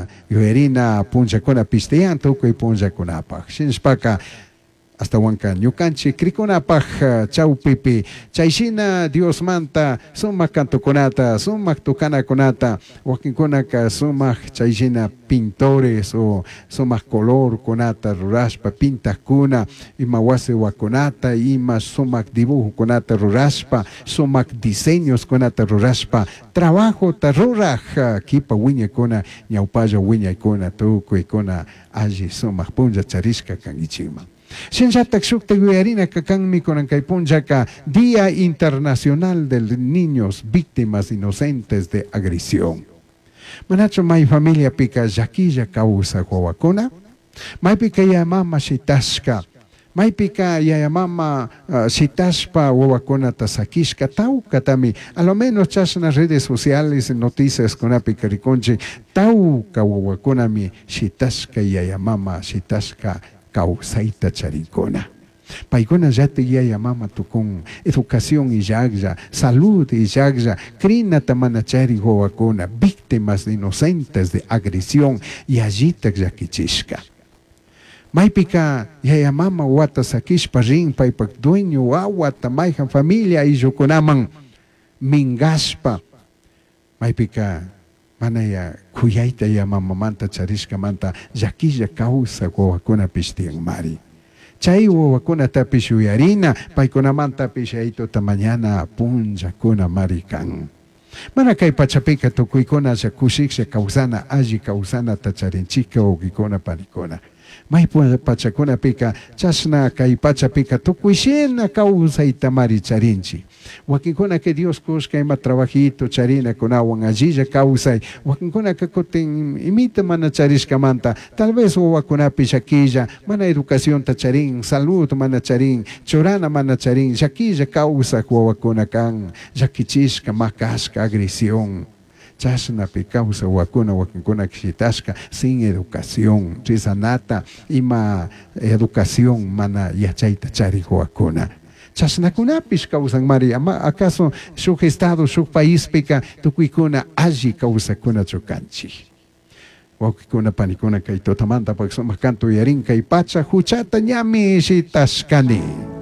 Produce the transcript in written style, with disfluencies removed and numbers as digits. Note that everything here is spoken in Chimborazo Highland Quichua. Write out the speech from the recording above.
Chashna yuyarina punllakunapish tiyan tukuy punllakunapaj. Shinashpaka Ashtahuanca ñucanchij cricunapaj chaupipi chai shina Diosmanta sumaj cantocunata, sumaj tocanacunata, huaquincunaca sumaj chai shina pintores o sumaj colorcunata rurashpa pintajcuna, ima huasi huacunata, ima sumaj dibujocunata rurashpa, sumaj diseñoscunata rurashpa trabajota ruraj quipa huiñaicuna, ñaupalla huiñaicuna tucuicuna alli sumaj punlla charishca canguichijman. Shinallataj shujtaj yuyarinaca canmi cunan cai punllaca Día Internacional de Niños Víctimas Inocentes de Agresión. Manachu mai familiapica llaquilla causaj huahuacuna? Maipica yaya mama shitashca, maipica yaya mama shitashpa huahuacunata saquishca taucatami, a lo menos chashna redes sociales, noticiascunapica ricunchij, tauca huahuacunami shitashca yaya mama shitashca causaita charincuna. Paicunallataj yaya mama tucun, educación illajlla, salud illajlla, crinata mana charij huahuacuna, víctimas inocentes de agresión yallitaj llaquichishca. Maipica yaya mama huata saquishpa rin paipaj dueño huahuata maijan familia ayllucunaman mingashpa, maipica mana ya cuyaita ya mamamanta charishcamanta llaquilla causaj huahuacunapish tiyanmari. Chai huahuacunatapish yuyarina, paicunamantapish Yaituta mañana punllacunamari can. Mana cai pachapica tucuicunalla cushijlla causana, alli causanata charinchijca huauquicuna panicuna. Mai pachacunapica chashna cai pachapica tucui shina causaitamari charinchij. Huaquincunaca Dios cushca ima trabajito charinacunahuan allilla causai, huaquincunaca cutin imita mana charishcamanta, tal vez huahuacunapish llaquilla, mana educacionta charin, salud mana charin, churana mana charin, llaquilla causaj huahuacuna can, llaquichishca, macashca, agresión. Chashnapi causaj huahuacuna huaquincunaca shitashca sin educación, rezanata, ima educación mana yachaita charij huahuacuna. Chashnacunapish causanmari, ama acaso shuj estado, shuj paispica tucuicuna alli causacunachu canchij. Huauquicuna, panicuna, cai tutamanta sumaj canto uyarin, cai pacha juchata ñami shitashcani.